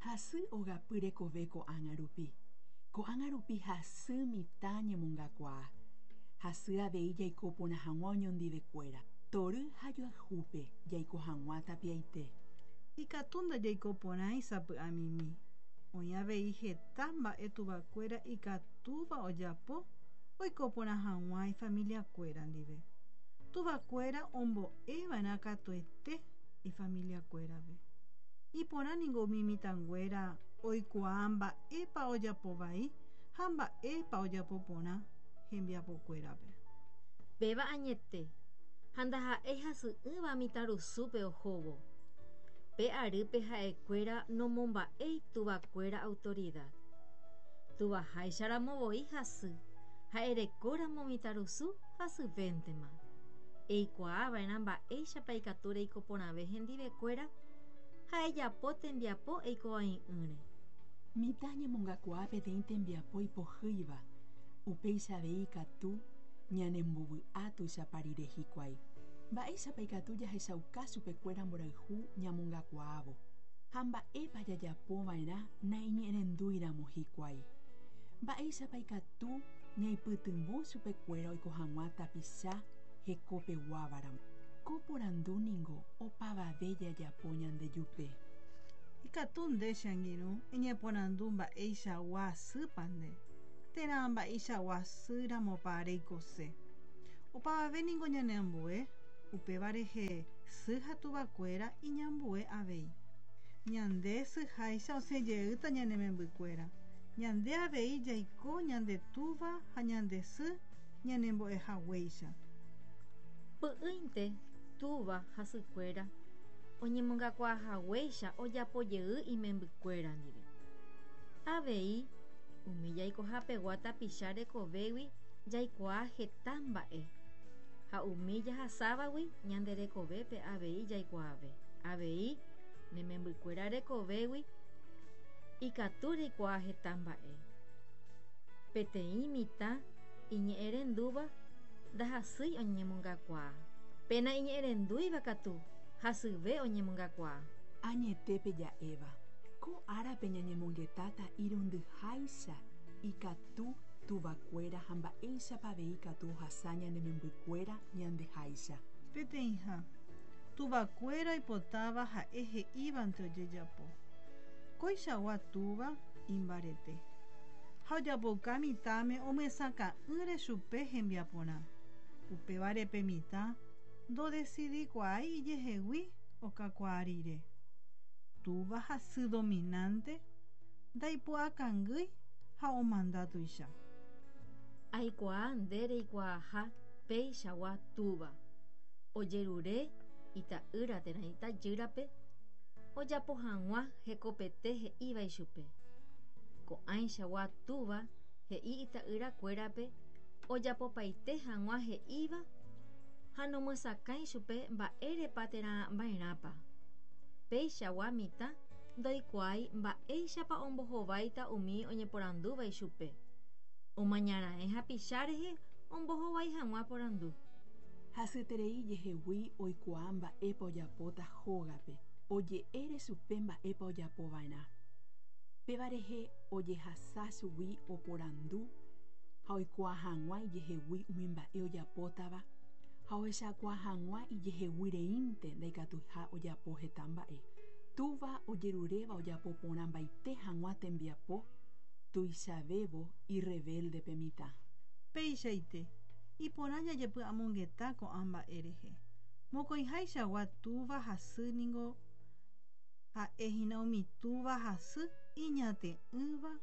Hasy ogapy rekove ko'ág̃a rupi. Ko'ág̃a rupi hasy mitã ñemongakuaa. Hasy avei jaiko porã hag̃ua oñondivekuéra, tory ha joayhúpe jaiko hag̃ua tapiaite. Ikatu ndajaiko porãi sapy'amimi. Oĩ avei heta mba'e tuvakuéra ikatúva ojapo oiko porã hag̃ua ifamiliakuéra ndive. Tuvakuéra ombo'eva'erã katuete ifamiliakuérape. Iporã ningo umi mitãnguéra oikuaa mba'épa ojapo vai ha mba'épa ojapo porã hembiapokuérape. Péva añete, ha ndaha'éi hasy'ỹva mitãrusúpe ohóvo. Pe arýpe ha'ekuéra nomomba'éi tuvakuéra autoridad. Tuvaháicharamo voi hasy, ha erekóramo mitãrusu hasyvéntema. Eikuaava'erã mba'éichapa ikatu reiko porãve hendivekuéra ha ejapo tembiapo eikovai'ỹre. Mitã ñemongakuaa peteĩ tembiapo ipohýiva, upéicha avei ikatu ñanembovy'a tuichapa rire hikuái. Mba'éichapa ikatu jahechauka chupekuéra mborayhu ñamongakuaávo, ha mba'épa jajapova'erã naiñe'ẽrendúiramo hikuái? Mba'éichapa ikatu ñaipytyvõ chupekuéra oiko hag̃ua tapicha hekopeguávaramo? Ko porandu ningo opavave jajapo ñandejupe. Ikatu nde che angirũ eñeporandu mba'eichagua sýpa nde, térã mba'eichagua sýramopa reikose. Opavave ningo ñaneambue, upéva rehe sy ha tuvakuéra iñambue avei. Ñande syháicha osẽ jeýta ñane membykuéra. Ñande avei jaiko ñande túva ha ñande sy ñanembo'ehaguéicha. Py'ỹinte túva ha sykuéra oñemongakuaahaguéicha ojapo jey imembykuéra ndive. Avei, umi jaikohapegua tapicha rekovégui jaikuaa heta mba'e, ha umi jahasávagui ñande rekovépe avei jaikuaave. Avei, ne membykuéra rekovégui ikatu reikuaa heta mba'e. Peteĩ mitã iñe'ẽrendúva ndahasýi oñemongakuaa. Pe naiñe'ẽrendúiva katu hasyve oñemongakuaa. Añetépe ja'éva, ko árape ñañemongetáta irundyháicha ikatu tuvakuéra ha mba'éichapa avei ikatu ohasa ñane membykuéra ñandeháicha. Peteĩha, tuvakuéra oipotáva ha'e he'ívante ojejapo. Koichagua túva imbarete. Ha ojapouka mitãme omyesakã'ỹre chupe hembiaporã. Upévare pe mitã ndodesidikuaái ijehegui okakuaa rire. Túva ha sy dominante ndaipu'akangýi ha omanda tuicha. Aikuaa nde reikuaaha peichagua túva. Ojerure ita'ýra térã itajýrape ojapo hag̃ua hekopete he'íva ichupe. Ko'ãichagua túva he'i ita'yrakuérape ojapopaite hag̃ua he'íva ha nomyesakãi chupe mba'érepa térã mba'erãpa. Peichagua mitã ndoikuaái mba'éichapa ombohováita umi oñeporandúva ichupe. Omañaraẽ hapicha rehe ombohovái hag̃ua porandu. Hasyeterei ijehegui oikuaa mba'épa ojapóta hógape, oje'ére chupe mba'épa ojapova'erã. Péva rehe ojehasa chugui oporandu ha oikuaa hag̃ua ijehegui umi mba'e ojapótava ha ohechakuaa hag̃ua ijehegui reínte ndaikatuiha ojapo heta mba'e. Túva ojeruréva ojapo porãmbaite hag̃ua tembiapo tuichavévo irrevélde pe mitã. Peichaite, iporã jajepy'amongeta ko'ã mba'e rehe. Mokõihaichagua túva ha sy ningo ha'e hína umi túva ha sy iñate'ỹva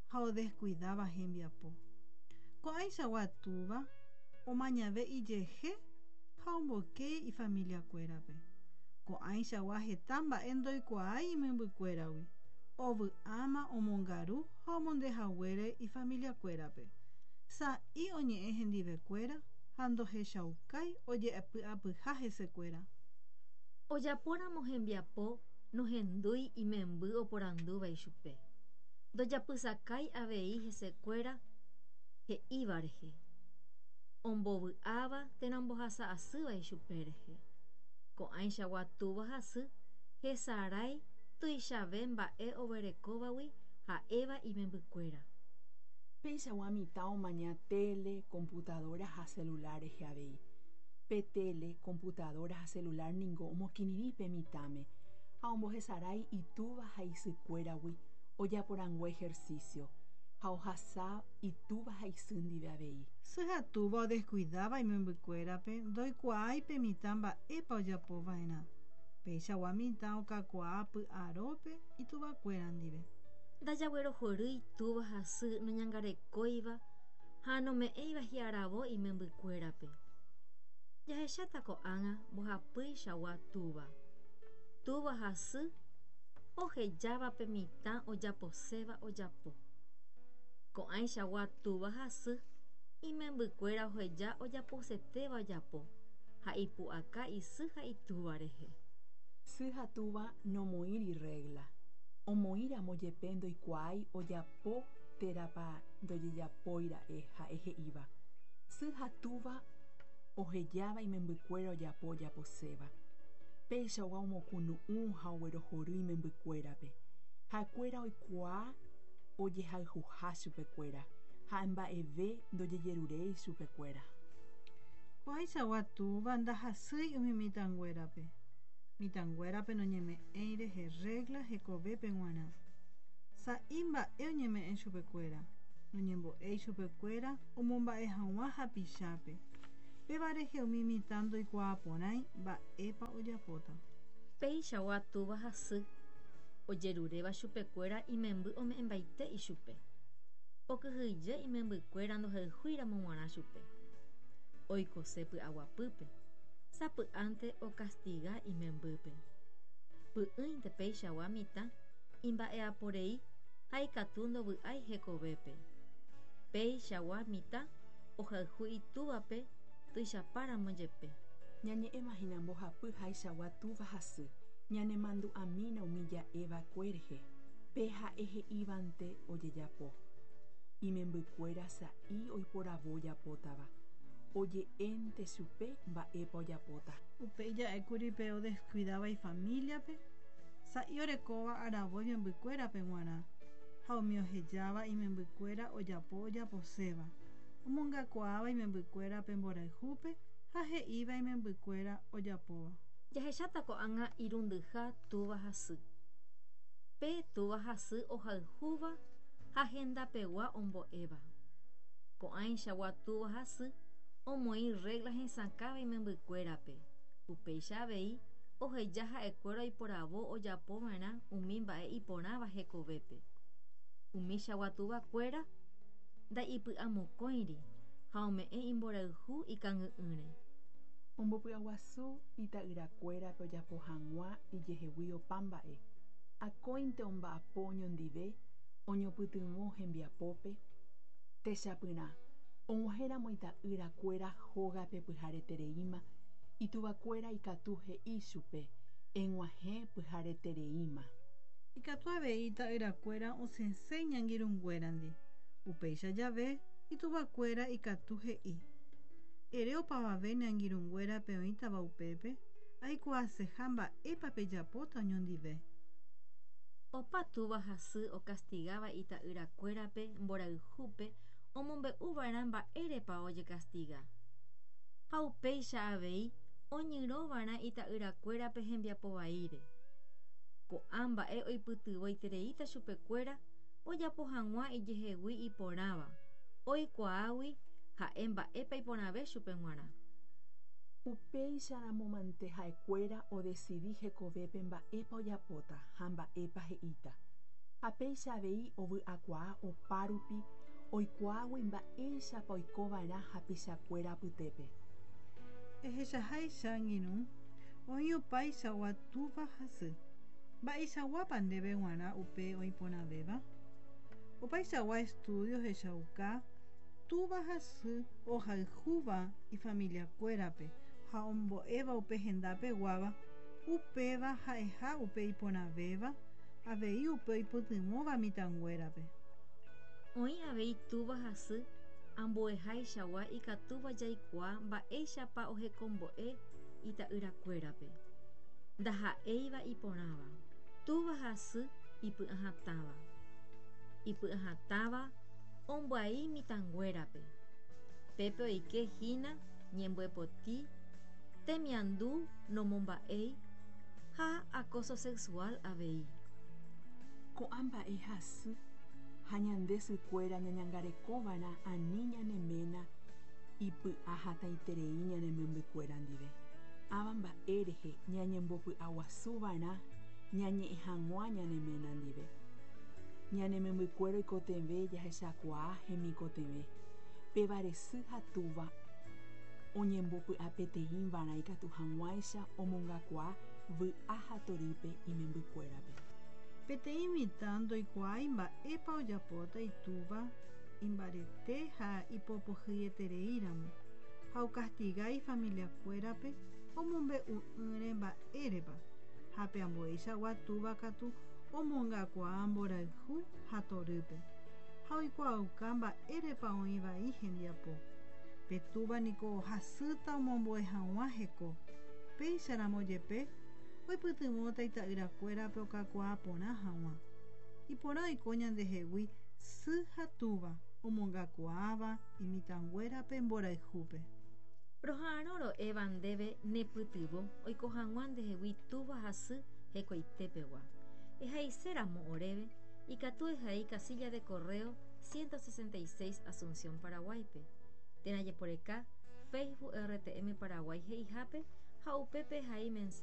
ha odeskuidáva hembiapo. Ko'ãichagua túva omañave ijehe ha omboyke ifamiliakuérape. Ko'ãichagua heta mba'e ndoikuaái imembykuéragui, ovy'áma omongaru ha omonde haguére ifamiliakuérape. Sa'i oñe'ẽ hendivekuéra ha ndohechaukái oje'epy'apyha hesekuéra. Ojapóramo hembiapo nohendúi imemby oporandúva ichupe. Ndojapysakái avei hesekuéra he'íva rehe, ombovy'áva térã ombohasa asýva ichupe rehe. Ko'ãichagua túva ha sy hesarái Tuichave mba'e oguerekóvagui ha'éva imembykuéra. Peichagua mitã omaña tele, computadora ha celular rehe avei. Pe tele, computadora ha celular ningo omokirirĩ pe mitãme ha ombohesarái itúva ha isykuéragui ojaporangue ejercicio ha ohasa itúva ha isy ndive avei. Sy ha túva odescuidáva imembykuérape ndoikuaái pe mitã mba'épa ojapova'erã. Peichagua mitã okakuaa py'arópe ituvakuéra ndive. Ndajaguerohorýi túva ha sy noñangarekóiva ha nome'ẽiva hi'aravo imembykuérape. Jahecháta ko'ág̃a mbohapýichagua túva. Túva ha sy ohejáva pe mitã ojaposéva ojapo. Ko'ãichagua túva ha sy imembykuéra oheja ojaposetéva ojapo ha ipu'aka isy ha itúva rehe. Sy ha túva nomoĩri regla. Omoĩramo jepe ndoikuaái ojapo térãpa ndojejapóira'e ha'e he'íva. Sy ha túva ohejáva imembykuéra ojapo ojaposéva. Peichagua omokunu'ũ ha oguerohory imembykuérape. Ha'ekuéra oikuaa ojehayhuha chupekuéra ha mba'eve ndojejeruréi chupekuéra. Ko'ãichagua túva ndahasýi umi mitãnguérape. Mitãnguérape noñeme'ẽi rehe regla hekovépe g̃uarã. Sa'i mba'e oñeme'ẽ chupekuéra. Noñembo'éi chupekuéra omomba'e hag̃ua hapichápe. Péva rehe umi mitã ndoikuaaporãi mba'épa ojapóta. Peichagua túva ha sy ojeruréva chupekuéra imemby ome'ẽmbaite ichupe. Okyhyje imembykuéra ndohayhúiramo g̃uarã chupe. Oikose py'aguapýpe, sapy'ánte okastiga imembýpe. Py'ỹinte peichagua mitã imba'eaporei ha ikatu ndovy'ái hekovépe. Peichagua mitã ohayhu itúvape tuichapáramo jepe. Ñañe'ẽmahína mbohapy haichagua túva ha sy. Ñanemandu'amína umi ja'eva'ekue rehe. Pe ha'e he'ívante ojejapo. Imembykuéra sa'i oiporavo ojapótava. Oje'énte chupe mba'épa ojapóta. Upéi ja'ékuri pe odescuidáva ifamiliape, sa'i orekóva aravo imembykuérape g̃uarã ha umi ohejáva imembykuéra ojapo ojaposéva. Omongakuaáva imembykuérape mborayhúpe ha he'íva imembykuéra ojapóva. Jahecháta ko'ág̃a irundyha túva ha sy. Pe túva ha sy ohayhúva ha hendapegua ombo'éva. Ko'ãichagua túva ha sy omoĩ regla hesakãva imembykuérape. Upéicha avei oheja ha'ekuéra oiporavo ojapova'erã umi mba'e iporãva hekovépe. Umichagua tuvakuéra nda'ipy'amokõiri ha ome'ẽ imborayhu ikangy'ỹre. Ombopy'aguasu ita'yrakuérape ojapo hag̃ua ijehegui opa mba'e. Akóinte omba'apo oñondive oñopytyvõ hembiapópe. Techapyrã, og̃uahẽramo ita'yrakuéra hógape pyharetereíma, ituvakuéra ikatu he'i chupe eg̃uahẽ pyharetereíma. Ikatu avei ita'yrakuéra osẽse iñangirũnguérandi. Upéicha jave ituvakuéra ikatu he'i. Ere opavave ne angirũnguérape oĩtava upépe, aikuaaseha mba'épa pejapóta oñondive. Opa túva ha sy okastigáva ita'yrakuérape mborayhúpe omombe'uva'erã mba'érepa ojekastiga. Ha upéicha avei oñyrõva'erã ita'yrakuérape hembiapo vaíre. Ko'ã mba'e oipytyvõitereíta chupekuéra ojapo hag̃ua ijehegui iporãva, oikuaágui ha'e mba'épa iporãve chupe g̃uarã. Upéicharamo mante ha'ekuéra odecidi hekovépe mba'épa ojapóta ha mba'épa he'íta. Ha péicha avei ovy'akuaa opárupi oikuaágui mba'éichapa oikova'erã hapichakuéra apytépe. Ehechaháicha angirũ, oĩ opaichagua túva ha sy. Mba'eichaguápa ndéve g̃uarã upe oĩporãvéva? Opaichagua estudio ohechauka túva ha sy ohayhúva ifamiliakuérape ha ombo'éva upe hendapeguáva, upéva ha'eha upe iporãvéva, avei upe oipytyvõva mitãnguérape. Oĩ avei túva ha sy ambuehaichagua ikatúva jaikuaa mba'éichapa ohekombo'e ita'yrakuérape. Ndaha'éiva iporãva. Túva ha sy ipy'ahatãva. Ipy'ahatãva ombyai mitãnguérape. Pépe oike hína ñembyepoti, temiandu nomomba'éi ha acoso sexual avei. Ko'ã mba'e hasy ha ñande sykuéra ñañangarekova'erã ani ñane ména ipy'a hatãiterei ñane membykuéra ndive. Ãva mba'e rehe ñañembopy'aguasuva'erã ñañe'ẽ hag̃ua ñane ména ndive. Ñane membykuéra oikotevẽ jahechakuaa hemikotevẽ. Pévare sy ha túva oñembopy'apeteĩva'erã ikatu hag̃uáicha omongakuaa vy'a ha torýpe imembykuérape. Peteĩ mitã ndoikuaái mba'épa ojapóta itúva imbarete ha ipopohýietereíramo ha okastiga ifamiliakuérape omombe'u'ỹre mba'érepa ha pe ambueichagua túva katu omongakuaa mborayhu ha torýpe ha oikuaauka mba'érepa oĩ vai hembiapo. Pe túva niko hasýta omombue hag̃ua heko. Péicharamo jepe oipytyvõta ita'yrakuérape okakuaa porã hag̃ua. Iporã oiko ñandehegui sy ha túva omongakuaáva imitãnguérape mborayhúpe. Roha'arõ ro'éva ndéve nepytyvõ oiko hag̃ua ndehegui túva ha sy hekoitepegua. Ehaiséramo oréve, ikatu ehai casilla de correo 166 Asunción Paraguáipe, térã jeporeka Facebook RTM Paraguay he'ihápe ha upépe ehai mensaje.